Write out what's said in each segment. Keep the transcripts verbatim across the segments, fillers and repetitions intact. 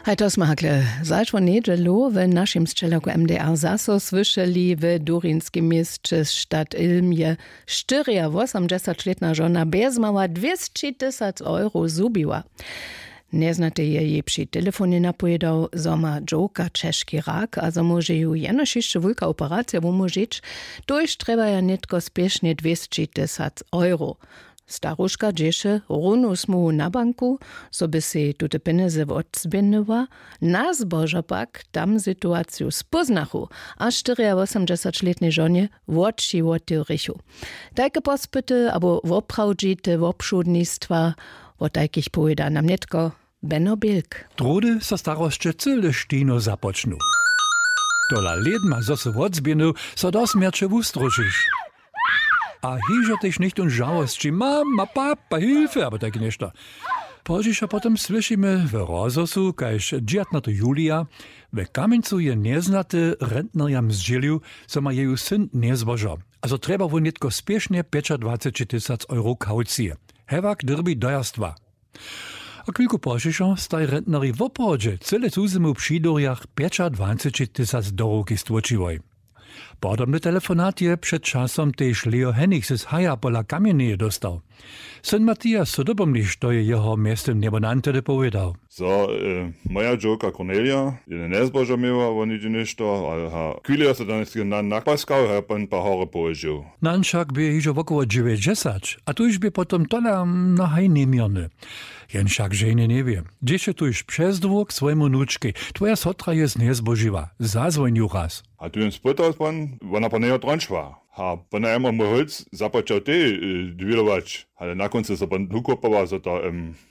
Haj to smy hakle zašło njedźelu w našim sćelaku mdr zaso słyšeli. W durinskim měsće stadt ilm je štyriawosomdźesaćlětna žona bjezmała dwěsći tysac euro zhubiła. Njeznaty je jej při telefonje napojedał, zo ma dźowka ćežki rak a zo móže ju jenož hišće wulka operacija wumóžić. Tuž trjebaja nětko spěšnje dwěsći tysac euro. Staruška dźěše runu smuhu na banku, zo by sej tute pjenjezy wotzběhnyła. Na zbožo pak tam situaciju spóznachu a štyriawosomdźesaćlětnej žonje woči wotewrichu. Tajke pospyty abo woprawdźite wobšudnistwa, wo tajkich powěda nam nětko beno bilk. Druhdy so starosće cyle štino započnu. Tola lědma zo se wotzběhnył, so do smjerće wustrošiš. A hižo tež něchtón žałosći, mama, papa, hilfe abo tajke něšto. Pozdźiša potom słyšimy w rozhłosu, kaž dźiwatnaty julija w kamjencu je njeznaty rentnerjam zdźělił, zo ma jeju syn njezbožo a zo trjeba wón nětko spěšnje pjećadwaceći tysac euro kaucije. Hewak dyrbi do jarstwa. A chwilku pozdźišo staj rentneri woprawdźe cyle cuzymu při durjach pjećadwaceći tysac do ruki stłočiłoj. Podobny telefonat je před časom tež leo hennichs z haja pola kamjenjeje dóstał. Syn matias so dopomni što je jeho mjeztym njebonantedy powědał. Zo, moja dźowka kornelija je njezbožo měła wo něhdźe něšto, ale ha chwili jo se daneske nan nakpaskał, ha jo pan pa hory połožył. Nan wšak bě hižo wokoło dźewjećdźesać a tuž bě potom tola mnohaj njeměrny. Jen wšak ženje njewě, dźěše tuž přez dwór k swojemu wnučkej. Twoja sotra je njezbožiła, zazwonju raz. A tu jen spytał pan, wona pan njejo trončła. Ha pona jemor mój holc započał tej dwilować, ale na kóncu so pan wukopała zo to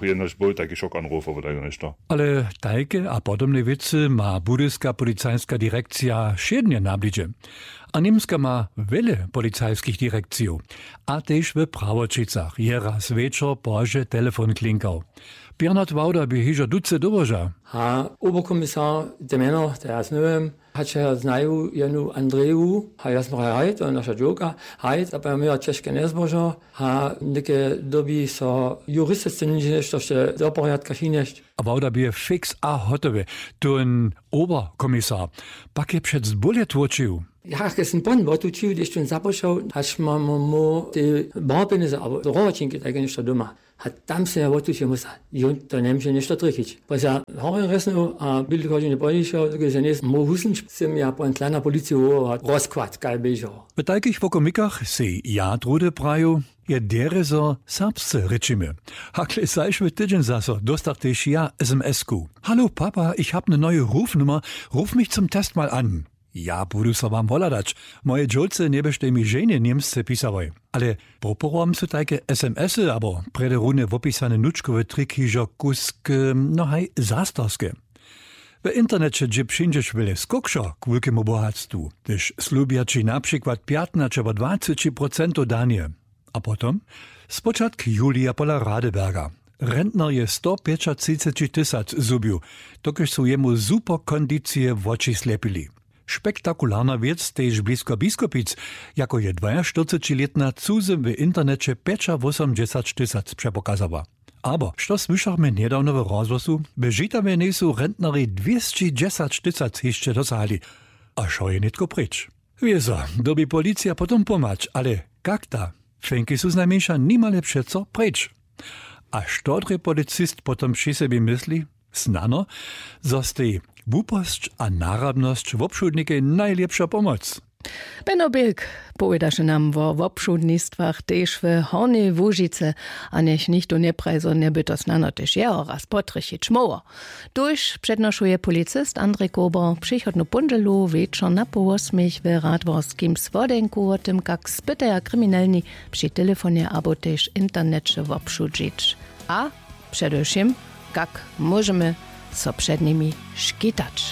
jenož był tajki šok anrufowy tajko něšto. Ale tajke a podobne wěcy ma budyska policajska direkcija wšědnje na blidźe. A němska ma wjele policajskich direkcijow. A tež w prawoćicach je raz wječor pozdźe telefon klinkał. Bernard wawda bě hižo duce dołoža. Ha oberkomisar, te mjeno te ja znywam, hač ja znaju jenu andreju, ha ja smraj haj to je naša dźowka. Haj zapaja měła ćežke njezbožo, ha něke dyrbi so juristisce něšto wšće do porjadka přinjesć. A wawda bě fiks a hotowy. Tón oberkomisar pak je přec bóle tłočił. Ja ke sym pon wotućił hdyž tón započał hač mam mu te barpjenjezy abo rohoćinki tajke něšto doma. A tam sym ja wotućił musa, jón to njemóže něšto trjechić. Poza horje resnył a běli chodźenje pohišeho dokelž ja njejsym móhł husnyć, sym ja pon tla na policiju wołała rozkład kaj běžeho. W tajkich wokomikach sej ja druhdy prajił, je derje zo serbsce rěčimy. Hakle zašły tydźeń zaso dóstach tež ja sms-ku. Halo papa, ich hab ne noju rufnummer. Ruf mich zum test mal an. Ja budu so wam wohladać. Moje dźowce njeběštej mi ženje němsce pisałoj. Ale proporom su tajke sms-y abo prjedy runje wopisane nučkowe triki hižo kusk, no haj zastarske. W interneće dźě přińdźeš wjele skókšo k wulkemu bohatstwu, hdyž slubja ći na přikład pjatnaće abo dwaceći procentow danje. A potom spočatk julija pola radeberga. Rentner je sto pjećatřiceći tysac zhubił, dokelž su jemu zupokondicije woči slepili. Spektakularna wěc tež blisko biskopic, jako je dwajaštyrcećilětna cuzy w interneće pjećawosomdźesaćtysac přepokazała. Abo što słyšachmy njedawno w rozhłosu, w žitawje njejsu rentneri dwěsći dźesaćtysac hišće dosahali. A wšo je nětko pryč. Wězo dyrbi policija potom pomhać, ale kak ta? Fenki su znajmjeńša nimale přeco pryč. A što drje policist potom při sebi mysli? Snano, zo stej wuposć a narabnosć wobšudnikej najlěpša pomoc. Beno bilk powědaše nam wo wobšudnistwach tež w hornjej łužicy. A njech nichtó njepraji zo njeby to snano tež jeho raz potrjechić móhło. Tuž přednošuje policist andrej kober přichodnu póndźelu wječor na poł wosmich w radworskim słodenku wo tym kak spytaja kriminelni při telefonje abo tež interneće wobšudźić. A předewšěm, kak móžemy so před nimi škitać.